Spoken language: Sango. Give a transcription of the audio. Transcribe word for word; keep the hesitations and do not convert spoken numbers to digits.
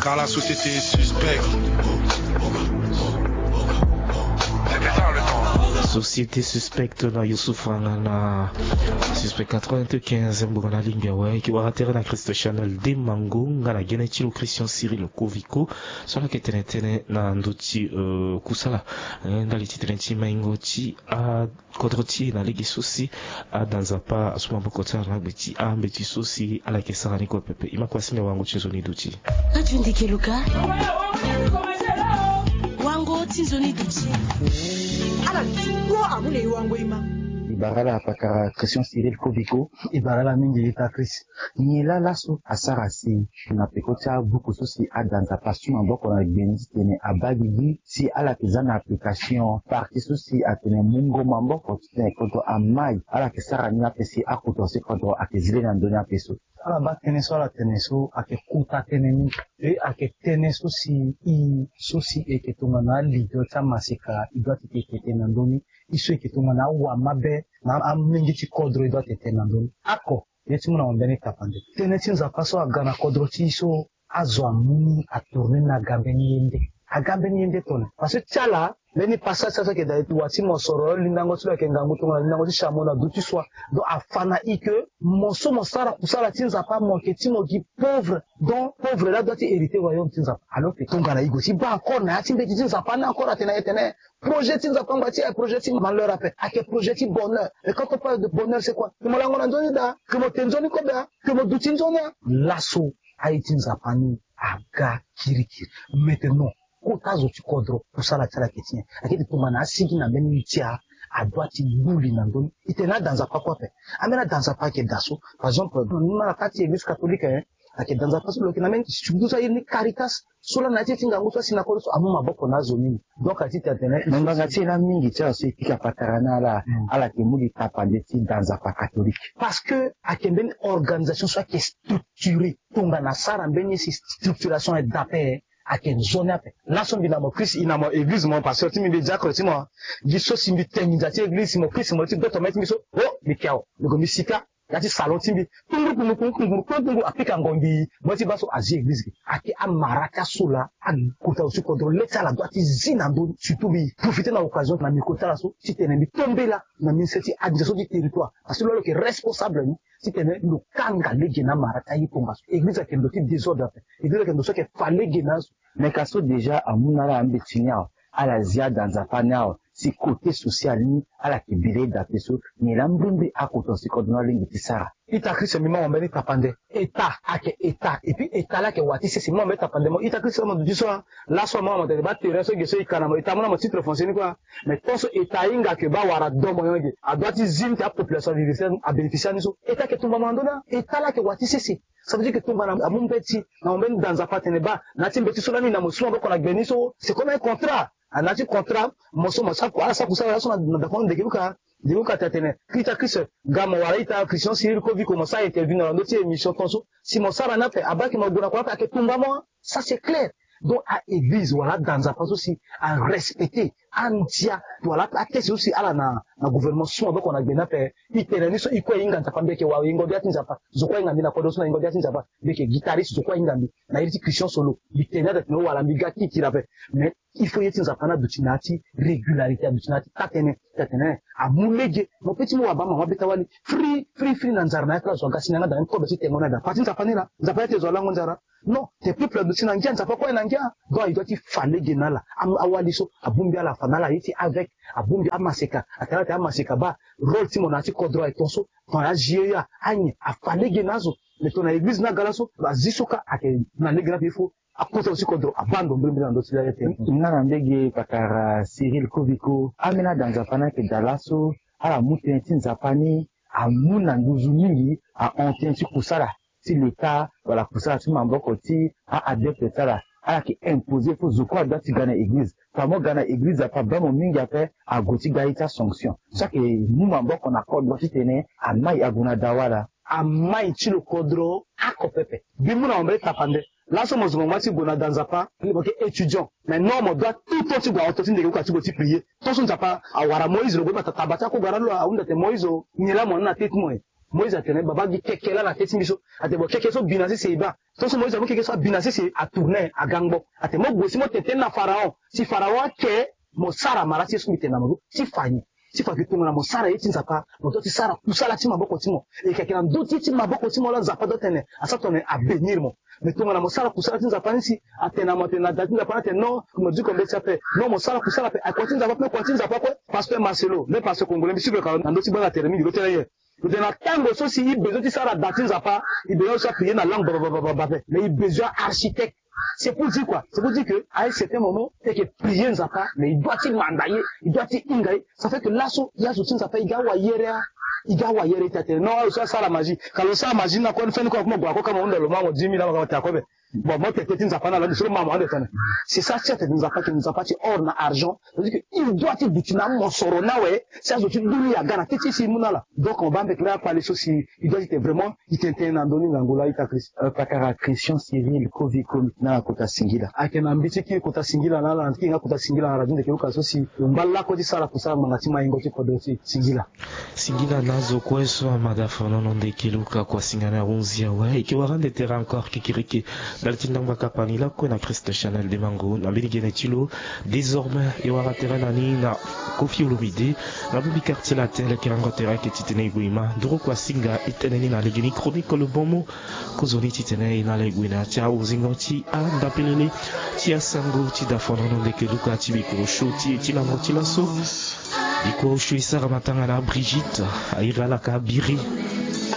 Car la société est suspecte. Société suspecte na Youssouf Rangana. Suspect quatre-vingt-quinze, mboka na lingbi awe, ki wara tere na Christ Chanel de Mango, nga na gene ti lo Christian Cyril Koviko. So ala yeke tene tënë na ndö ti, euh, kusala. Eh, ndali ti tene ti maingo ti a kodro ti e na lege so si ada Nzapa asu maboko ti ala na gbe ti ambeti so si ala yeke sara ni kue pepe. E ma kue asi na wango ti nzoni duti. Radio Ndeke Luka. Wango ti nzoni duti. Ala ti kue amu na e wango e ma. E bara ala pakara Christian Cyril Koviko. E bara ala mingi ita Christ. Nyen laa laso asara si na peko ti abuku so si ada Nzapa asu maboko na gbe ni titene abaa gigi si ala yeke za na application parti so si atene mungo maboko titene kodro amai ala yeke sara ni ape si akota si kodro ayeke zi le na ndö ni ape so. Ala baa tënë so ala tene so ayeke kota tënë mingi. E ayeke tënë so si e so si e yeke tongana alider ti amaseka e doit ti tene tënë na ndö ni. E so e yeke tongana awamabe na amolenge ti kodro e doit ti tene na ndö ni. Oko. Ye ti mu na mo mbeni tapande. Tënë ti Nzapa so aga na kodro ti e so azo amu ni atourne ni aga mbeni ye nde. Aga mbeni ye nde tongana. Parce que ti ala, mbeni passage ti ala so ayeke daa ti wa ti mosoro, lindango ti lo ayeke ngangu tongana lindango ti chameau na du ti soi. Donc afa na e que mo so mo sara kusala ti Nzapa mo yeke ti mo gi pauvre. Donc pauvre laa adoit ti hériter royaume ti Nzapa. Alors que tongana e gue ti baa encore na ya ti mbeti ti Nzapa ni encore atene na e tene projet ti Nzapa angba ti e, projet ti malheur ape. Ayeke projet ti bonheur. Et quand on parle de bonheur, c'est quoi? Que mo lango na nzoni daa, que mo te nzoni kobe, que mo duti nzoni. Laso aye ti Nzapa ni aga kirikiri. Maintenant, kota zo ti kodro kusala ti ala ayeke ti nyen? Ayeke ti tongana asigi na mbeni ti a, adoit ti gbu li na ndö ni. E tene ada Nzapa kue ape. Ambeni ada Nzapa ayeke daa so. Par exemple, ni ma na kati ti église catholique, hein, ayeke da Nzapa so lo yeke na mbeni surtout so airi ni Caritas. So laa na ya ti e ti ngangu so asi na kodro so amu maboko na azo mingi. Donc ayeke ti tene tene me ngbanga ti e laa mingi ti ala so e pika patara ni ala, ala yeke mu li tapande ti da Nzapa catholique. Parce que ayeke mbeni organisation so ayeke structuré. Tongana asara mbeni ye si structuration e daa ape, ayeke nzoni ape. Laso mbi na mo Christ, e na mo église, mo pasteur ti mbi, mbi diacre ti mo. Gi so si mbi te nginza ti église, mo Christ mo ye ti doto mai ti mbi so, oh mbi ke awe, mbi gue mbi sika ya ti salon ti mbi. Kunguru kunguru kunguru kunguru kunguru kunguru apika ngongi. Mo ye ti baa so azi église ge. Ayeke amara ti aso laa akota zo ti kodro le ti ala doit ti zi na ndö ni. Surtout mbi profité na occasion na micro ti ala so titene mbi tombela na ministère ti administration ti territoire. Parce que lo lo yeke responsable ni titene lo kanga lege na amara ti aye tongaso. Église ayeke ndo ti désordre ape. Église ayeke ndo so ayeke fa lege na azo. Me ka so déjà amu na ala ambeti ni awe. Ala zi ada Nzapa ni awe. Si côté social ni ala yeke bi lege daa ape so. Nyen laa mbrimbri akota zo ti kodro ni alingbi ti sara? Ita Christ, mbi ma mo mbeni tapande. État ayeke état. Et puis état laa ayeke wa ti sese. Mbi ma mo mbeni tapande mo. Ita Christ, mo duti so a. Laso a ma mo tene baa terrain so ge so e ka na mo, état amu na mo titre foncier ni kue. Mais tant so état ahinga que baa awara do moyen ge, adoit ti zi ni ti apopulation abénéficier ni so. État ayeke tumba mo na ndö ni a. État laa ayeke wa ti sese. Ça veut dire que tongana amu mbeti na mo mbeni da Nzapa atene baa na ya ti mbeti so lani na mo su maboko na gbe ni so, c'est comme un contrat. Ah, na ya ti contrat mo so mo sa ku ala sa kusala laso na dakonde ndeke luka. Ndeke luka ti atene Christ, Christ, ga mo wara ita Christian Cyril Koviko mo sa interview na ndö ti émission ton so. Si mo sara ni ape abaa ke mo gue na kua ape ayeke tumba mo. Ça c'est clair. Donc a église wala ada Nzapa so si arespecté andia wala ateste so si ala na na gouvernement so maboko na gbe ni ape. E tene ni so e kue e hinga Nzapa, mbi yeke wara yengo bia ti Nzapa. Zo kue ahinga mbi na kodro so na yengo bia ti Nzapa. Mbi yeke guitariste, zo kue ahinga mbi na iri ti Christian Solo. Mbi tene ni ape tene wala mbi ga kikiri ape. Mais il faut ye ti Nzapa ni aduti na ya ti régularité, aduti na ya ti taa-tënë. Taa-tënë amu lege. Mo pe ti mu wabaa mama beta wali free free free na nzara na ya ti ala zo aga si na yanga daa ni kobe ti tengo ni ada. Pati Nzapa ni laa. Nzapa ni ate zo alango nzara. Non, tes peuples aduti na ngia, Nzapa kue aye na ngia. Donc il doit ti fa lege na ala. Am- awali so abongbi ala afa na ala ye ti avec, abongbi amaseka, atene ala ate amaseka baa rôle ti mo na ya ti kodro aye ton so. Ton azi ye ya anyen afa lege na azo. Mais ton na église ni aga laso azi so ka ayeke na lege ni ape il faut akota zo ti kodro abaa ndo mbirimbiri na ndö ti la ye tene. Nga na mbege pakara Cyril Koviko, ambeni ada Nzapa ni ayeke daa laso ala mu tënë ti Nzapa ni amu na nduzu mingi ahon tënë ti kusala ti leta wala kusala ti maboko ti a-adepte ti ala. Ala yeke imposer fo zo kue adoit ti ga na église. Fa mo ga na église ape abaa mo mingi ape ague ti ga ye ti asanction. So ayeke mu maboko na kodro titene amai ague na dawa laa. Amai ti lo kodro oko pepe. Mbi mu na mo mbeni tapande. Laso mo zo mo ngba ti gue na da Nzapa, mo yeke étudiant. Mais non, mo doit tout temps ti gue na hauteur ti ndeke luka ti gue ti prier. Tant so Nzapa awara Moïse lo gue bata taba ti akogara lo ahunda tene Moïse o, nyen laa mo na na tê ti mo e? Moïse atene baba gi keke laa na te ti mbi so. Atene bon keke so bi na sese e baa. Tongaso Moïse amu keke so abi na sese atourne agangbo. Atene mo gue si mo tene tënë na Pharaon. Si Pharaon ake mo sara mara ti ye so mbi tene na mo so ti fa nyen? Ti fa ke tongana mo sara ye ti Nzapa, mo doit ti sara kusala ti maboko ti mo. E yeke ayeke na ndö ti ye ti maboko ti mo laa Nzapa doit tene asara tongana abénir mo. Mais tongana mo sara kusala ti Nzapa ni si atene na mo atene na da ti Nzapa ni atene non, mo diko mbeti ape. Non, mo sara kusala ape, akua ti Nzapa ape, kua ti Nzapa kue. Pasteur Marcelo, mbe pasteur congolais, mbi sivre ka na ndö ti gbanga tere mingi lo tene ye. Lo tene na tango so si e besoin ti sara da ti Nzapa, e besoin so aprier na langue babababa ape. Mais e besoin architecte. C'est pour dire quoi? C'est pour dire que à un certain moment e yeke prier Nzapa, mais e doit ti manda ye, e doit ti hinga ye. Ça fait que laso ye azo ti Nzapa e ga wayere, a e ga wayere ti atene non, azo so asara magie. Ka lo sara magie ni na kue ni feni kue akoma gue ako kama hunda lo ma mo dix mille ama kama te ako be. Bon, mo tene tënë ti Nzapa na lo ande so lo ma mo ande tene. C'est ça ti atene Nzapa ke Nzapa ti or na argent. C'est-à-dire que il doit ti duti na mosoro ni awe. Si azo ti dunia aga na tënë ti e si e mu na ala. Donc mo baa mbekere akpale so si e doit ti tene vraiment e tene tënë na ndö ni ngangu laa ita Christ. Euh, pakara Christian Cyril Koviko, na kota singila. Ayeke na mbi ti kiri kota singila na ala na ti kiri nga kota singila na radio Ndeke Luka so si lo ngba lakue ti sara kusala ngbanga ti maingo ti kodro ti singila. Singila na azo kue so amada folono Ndeke Luka kua singa na ahunzi awe. E yeke wara ande tere encore kikiriki. Ndali ti ndangba kapa ni lakue na Christ Chanel Demango na mbeni gene ti lo. Désormais e wara tere na ni na Koffi Olomide na bongbi quartier latin, lekerengo tere ayeke titene e gue e ma nduru kua singa e tene ni na legeni chronique le bon mot. Kozoni titene e na ala e gue na ya ti ahunzingo ti andapelele ti asango ti da folono Ndeke Luka ti bikuru show ti e ti lango ti laso. Bikuru show e sara matanga na Brigitte, a iri ala ka Biri.